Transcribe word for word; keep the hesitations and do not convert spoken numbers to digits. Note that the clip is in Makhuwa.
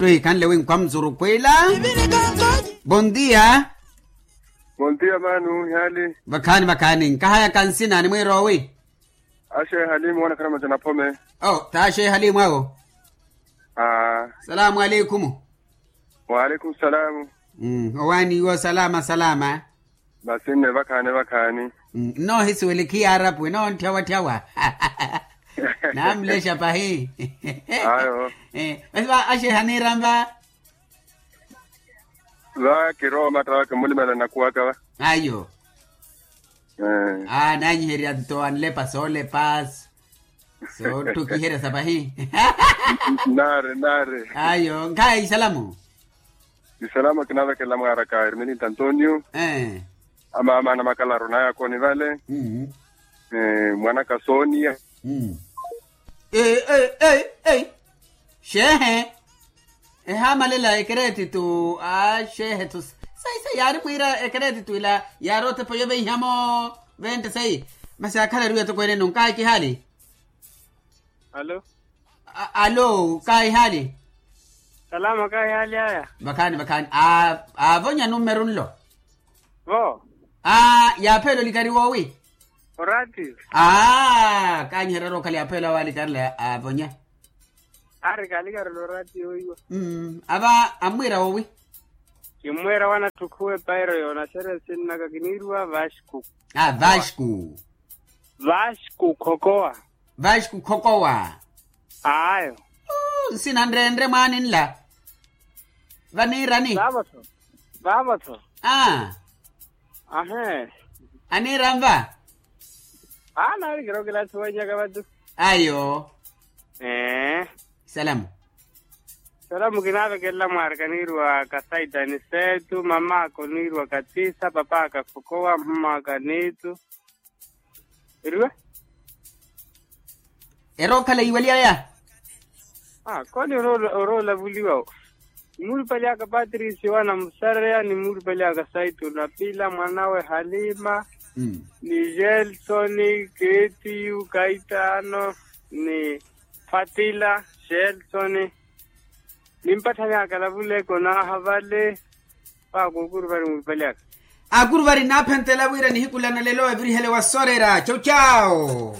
Wi khanle wi nkhwa mzuru kwila. Bondia. Bondia manu hali. Vakhaani vakhaani nkahayaka nsina ni mwirowi. Ashe hali mwana khana machana phome. O taashe hali mwawo. Salaamu aleikumu. Waleikumu salaamu. Owaani iwo salama salama. Masi nne vakhaani vakhaani. Nnoohisiwele khiyaarapu enoontthawatthawa. Namulexa pahi. Ayo. Masi va axeha niiranva. Va kirowa omatta va kimulimela nakuwaka va. Ayo. Aa nanyiherya nto anlepa soolepa. Soottukiherya sa pahi. Naari naari. Ayo nkhayi isalamu. Isalamu kinaavekela mwaaraka ermelinto antonio. Amaama na makalaru naya akoni vale. Mwanaka sonia. Ei ei ei. Xeehe. Ehaamalela ekereetitu aa xeehe-tho. Sayi sayi yaari mwiira ekereetitu ila yaari otepa yoveihamo. Vente sayi. Masi akhala eriwa etokweene-no nkaayi kihaali. Alo. Alo kaayi haali. Salama kaayi haali aya. Vakhaani vakhaani. Aavonya numeru nlo. Vo. Aa yaapheela olikari woowi. Oratiyo. Aa kaanyiherya ori okhala yaapheela awo alikarela aavonya. Ari kaalikarela oratiyo oiwa. Ava ammwiira woowi. Kimmwiira wanatthu khuwa epairo yoonaxerya nsinnaka kiniiriwa vasco. Vasco. Vasco khokowa. Vasco khokowa. Ayo. Nsina nrenre mwaani nla. Vaniirani. Vaavo-tho. Vaavo-tho. Aa. Ahee. Aniiranva. Aa naari kirokilathi wanyaka vatu. Ayo. Ee. Salamu. Salamu kinaavekelela mwaarika niiriwa kasaitani seetu mamaaka oniiriwa katisa papaaka khokowa mmaaka niitu. Eriwa. Erookhala iwaliyaya. Aa koni oroola ovuliwa. Nimuulupali aka patricio anamusareya nimuulupali aka saito napila mwanawe halima, ni gelsoni ketiyu kaitaano, ni fatila gelsoni. Nimpatthani akalavuleke onaaha vale. Paakukuru vari muulupali aka. Akuru vari nnaaphentela wira nihiku lana lelo evirihele wasorera cocao.